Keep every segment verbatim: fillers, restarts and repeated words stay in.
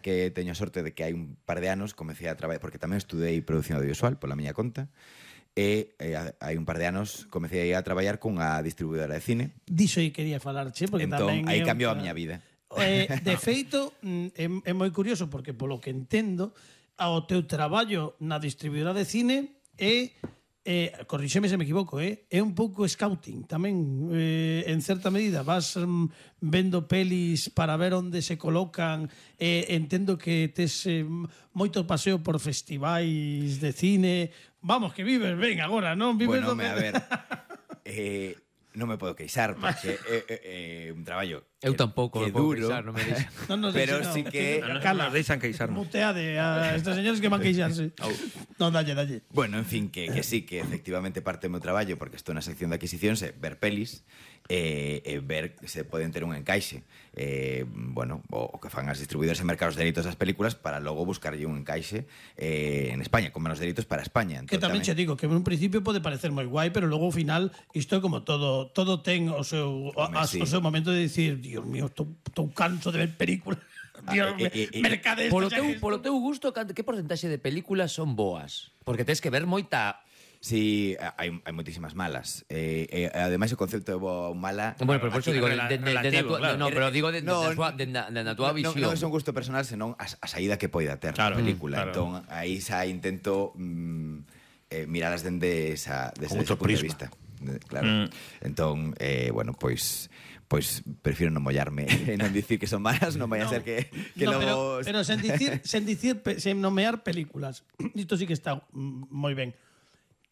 que teño a sorte de que hai un par de anos comecei a traballar, porque tamén estudei produción audiovisual pola miña conta, e eh, hai un par de anos comecei a traballar cunha distribuidora de cine. Diso aí quería falarche, porque entón, tamén... aí é cambiou a outra- miña vida. Eh, de feito, é, é moi curioso, porque polo que entendo, ao teu traballo na distribuidora de cine é... Eh, corríxeme se me equivoco, eh? É un pouco scouting tamén, eh, en certa medida vas mm, vendo pelis para ver onde se colocan, eh, entendo que tes eh, moito paseo por festivais de cine, vamos, que vives ben agora, non? Vives Bueno, do me, que- a ver, eh, non me podo queixar, porque é, é, é un traballo Eu que, tampouco que me podo duro, queixar, non me deixa. Non nos pero deixe, sí non. que... Non nos- Cala. nos deixan queixarnos. Muteade a estes señores que van queixarse. Non, dalle, dalle. Bueno, en fin, que, que sí, que efectivamente parte do meu traballo, porque estou na sección de adquisicións, é ver pelis, e, e ver se poden ter un encaixe. Eh, bueno, o, o que fan as distribuidoras e mercados de dereitos das películas para logo buscarlle un encaixe eh, en España, con menos dereitos para España. Que tamén che digo que en un principio pode parecer moi guai, pero logo ao final isto é como todo, todo ten o seu o, Home, a, sí. o seu momento de dicir, Dios mío, estou, estou canso de ver películas. Dios Ah, mío, eh, eh, mercades. Polo teu, polo teu gusto, can- que porcentaxe de películas son boas? Porque tes que ver moita... Sí, hai, hai moitísimas malas. Eh, eh, ademais, o concepto de boa ou mala... Bueno, pero por eso Aquí, digo, rela- de, de, de, de, relativo, tua- claro. no, pero digo de, de, No, de, de, de, de, de tua no, visión. non é un gusto personal, senón a, a saída que poida ter Claro, a película. claro. Entón, aí xa intento mm, eh, miralas dende esa, desde Con ese outro punto de prisma. vista. Eh, Claro. Mm. Entón, eh, bueno, pois pois prefiro non mollarme e non dicir que son malas, non vai a ser que, que no, logo... pero, pero sen dicir, sen dicir, pe- sen nomear películas. Isto sí que está mm, moi ben.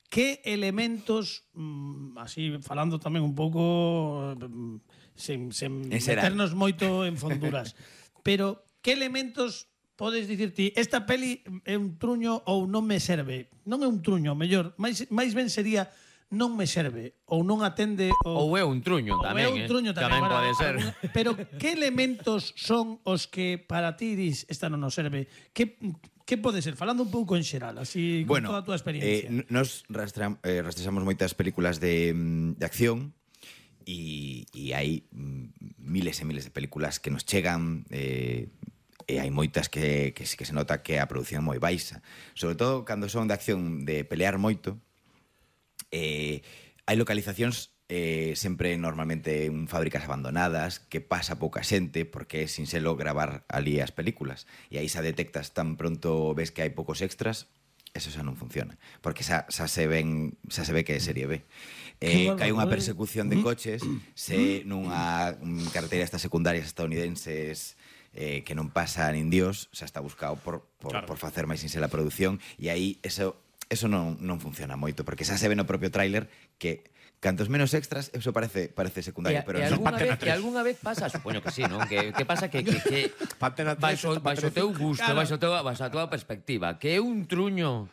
Que elementos, mm, así falando tamén un pouco mm, sen, sen En xeral. meternos moito en fonduras, pero que elementos podes dicir ti, esta peli é un truño ou non me serve? Non é un truño, mellor, máis, máis ben sería non me serve ou non atende Ou é un truño ou tamén, é un eh? truño tamén, Tamén para- pode ser. alguna- pero que elementos son os que para ti dis esta non nos serve? Que que pode ser? Falando un pouco en xeral, así con Bueno, toda a túa experiencia. eh, n- nos rastram, eh, rastrexamos moitas películas de, mm, de acción e, e hai mm, miles e miles de películas que nos chegan eh, e hai moitas que, que, que se nota que a produción é moi baixa, sobre todo cando son de acción de pelear moito. Eh, hai localizacións eh, sempre normalmente en fábricas abandonadas que pasa pouca xente porque é sin selo gravar ali as películas e aí xa detectas tan pronto ves que hai poucos extras, eso xa non funciona porque xa, xa se ven xa se ve que é serie B. Eh, Que que hai unha barbaridade. persecución de coches se nunha un carretera estas secundarias estadounidenses eh, que non pasa nin Dios, xa está buscado por, por, Claro. por facer máis sinxela produción e aí eso Eso non, non funciona moito, porque xa se ve no propio tráiler que cantos menos extras, eso parece parece secundario, E, pero e non. alguna vez, Antena e tres. alguna vez pasa, supoño que sí, non? Que, que pasa que, que, que Antena tres, baixo, baixo teu gusto, Claro. baixo, teu, baixo a túa perspectiva, que é un truño,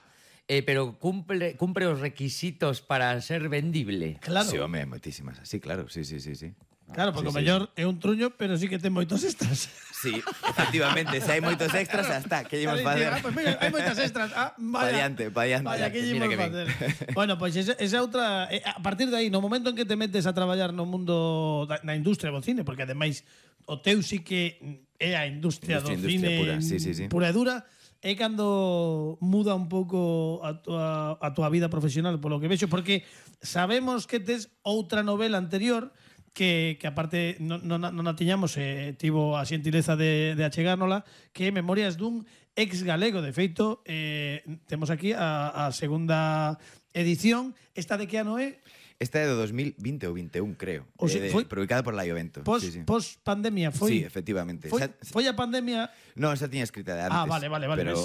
eh, pero cumpre, cumpre os requisitos para ser vendible. Claro. Sí, home, moitísimas así, claro, sí, sí, sí, sí. Claro, porque Sí, o sí. mellor é un truño, pero sí que ten moitos extras. Sí, efectivamente, se hai moitos extras, xa está, que llevamos Claro, facer? ah, pues mira, hai moitas extras. Ah, vaya. Pa diante, pa diante. Vaya, que Mira llevamos que ben. facer. Bueno, pois pues esa, esa outra... eh, a partir de aí, no momento en que te metes a traballar no mundo, da, na industria do cine, porque ademais o teu sí que é a industria, Industria, do industria cine pura, sí, sí, sí. pura e dura, é cando muda un pouco a tua, a tua vida profesional, polo que vexo, porque sabemos que tes outra novela anterior que, que aparte non, non, non a tiñamos, eh, tivo a xentileza de, de achegárnola, que é Memorias dun ex galego. De feito, eh, temos aquí a, a segunda edición. Esta de que ano é? Esta é do dos mil vinte ou vinte e un, creo. O sea, Eh, de, foi- publicada por Laio Vento. Pos, sí, sí. pos pandemia, foi? Sí, efectivamente. Foi, Xa- foi a pandemia... Non, xa tiña escrita de antes. Ah, vale, vale, vale, Pero...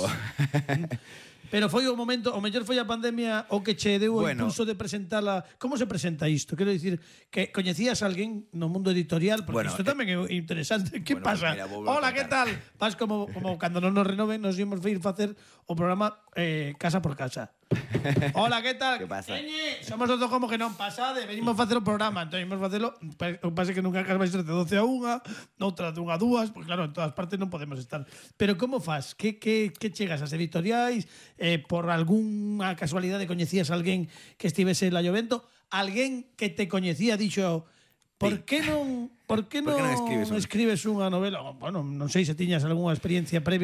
Pero foi o momento, o mellor foi a pandemia o que che deu o Bueno. impulso de presentala. Como se presenta isto? Quero dicir, que coñecías a alguén no mundo editorial, porque Bueno, isto eh, tamén é interesante. Que bueno, pasa? mira, vou a Hola, que contar. tal? Vas como, como cando non nos renoven, nos ímos ir facer o programa eh, casa por casa. Hola, que tal? Que pasa? Eñe, somos outros como que non pasade, venimos facer o programa, entón imos facelo, pa- o que pasa é que nunca cas vai ser de doce a unha, noutra de unha a dúas, porque claro, en todas partes non podemos estar. Pero como faz? Que, que, que chegas ás editoriais? Eh, por algunha casualidade coñecías a alguén que estivese en la Llovento? Alguén que te coñecía dixo, por que non, por que Por que non, non escribes un- escribes unha novela? Bueno, non sei se tiñas algunha experiencia previa